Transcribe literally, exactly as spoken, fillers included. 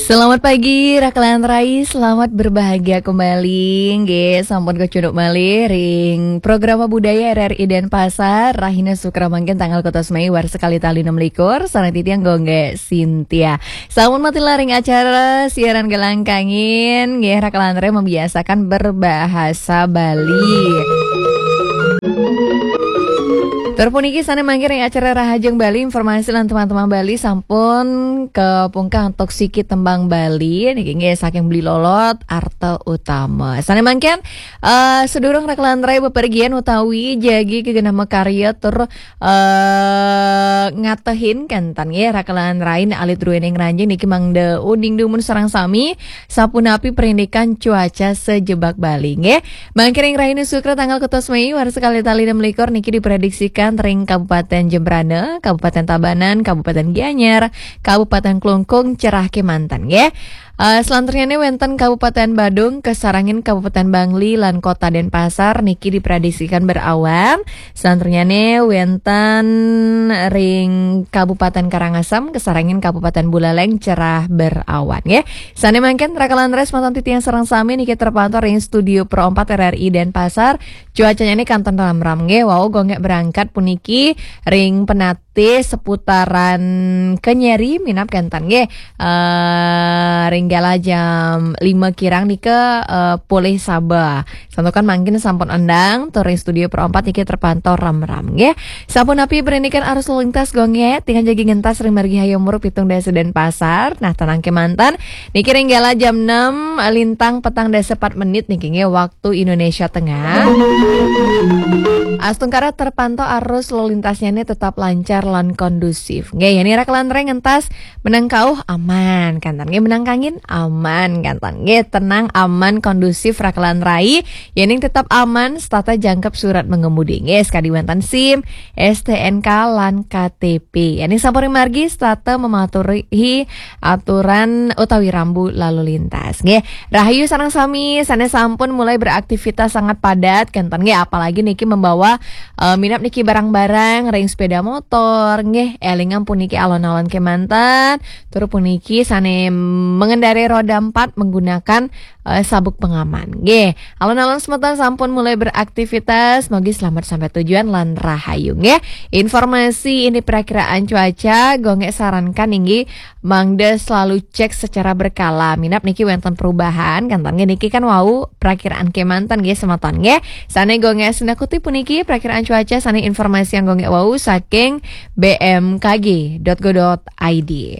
Selamat pagi, Rakelan Rai. Selamat berbahagia kembali. Nggih, sampun kecunduk malih ring Programa Budaya R R I Denpasar, rahina Sukra mangkin tanggal kotos Mei warsa kalih tali enam likur, sareng titiang Gonggé Sintia. Sampun matilah ring acara siaran Gelang Kangin, nggih, Rakelan Rai membiasakan berbahasa Bali. Tur puniki sané mangkin ring acara Rahajeng Bali, informasi lan teman-teman Bali sampun kapungkah antuk siki tembang Bali niki nggih saking Beli Lolot Arta Utama. Sané mangkin, eh, sedurung Rakelan Rai bepergian utawi jagi kagenah makarya tur, eh, ngatehin kénten nggih Rakelan Rai alit druéning ranjing niki mangda uning dumun sareng sami sapunapi perindikan cuaca sajebag Bali nggih. Mangkin ring rahina Sukra tanggal kotos Mei warsa kalih tali enam likur niki diprediksikan ring Kabupaten Jembrana, Kabupaten Tabanan, Kabupaten Gianyar, Kabupaten Klungkung cerah kémanten nggih. Eh, selanturnyané wénten Kabupaten Badung, kasarengin Kabupaten Bangli lan Kota Denpasar niki diprediksikan berawan. Selanturnyané wénten ring Kabupaten Karangasem, kasarengin Kabupaten Buleleng cerah berawan nggih. Sané mangkin Rakelan Rai semeton titiang sareng sami niki terpantau ring Studio Pro empat R R I Denpasar. Cuacanya ini kanten ramram nggih. Wau Gonggé berangkat puniki ring Penatih seputaran Kenyeri minab kénten nggih. Eh, ring galah jam lima kirang nika, eh, polih Sabah. Santukan mangkin sampun endang, tur ring Studio Pro empat niki terpantau ramram nggih. Sapunapi perindikan arus lalu lintas Gonggé, titiang jagi ngentas ring margi Hayam Wuruk pitung dasa Denpasar. Nah, tenang kémanten. Niki ring galah jam enam lintang petang dasa empat menit niki nggih waktu Indonesia Tengah. Astungkara terpantau arus lalu lintasnya ini tetap lancar lan kondusif. Nggih, yén Rakelan Rai ngentas menang kauh aman, kénten nggih, menang kangin aman, kénten nggih, tenang, aman, kondusif Rakelan Rai. Yéning tetap aman, setata jangkep surat mengemudi nggih, sakadi wénten SIM, S T N K lan K T P. Yéning sampun ring margi, setata mematuhi aturan utawi rambu lalu lintas nggih. Rahayu sareng sami sané sampun mulai beraktivitas sangat padat kénten nggih, apalagi niki membawa, eh, minab niki barang-barang ring sepeda motor nggih. Élingang puniki alon-alon kémanten, tur puniki sané mengendarai roda empat menggunakan, eh, sabuk pengaman nggih. Alon-alon semeton sampun mulai beraktivitas, mogi selamat sampai tujuan lan rahayu nggih. Informasi ini perakiraan cuaca, Gonggé sarankan inggih mangda selalu cek secara berkala. Minab niki wénten perubahan, kénten nggih niki kan wau perakiraan kémanten nggih semeton nggih. Sané Gonggé sinakuti puniki perakiraan cuaca sané informasi yang Gonggé wau saking B M K G dot go dot I D.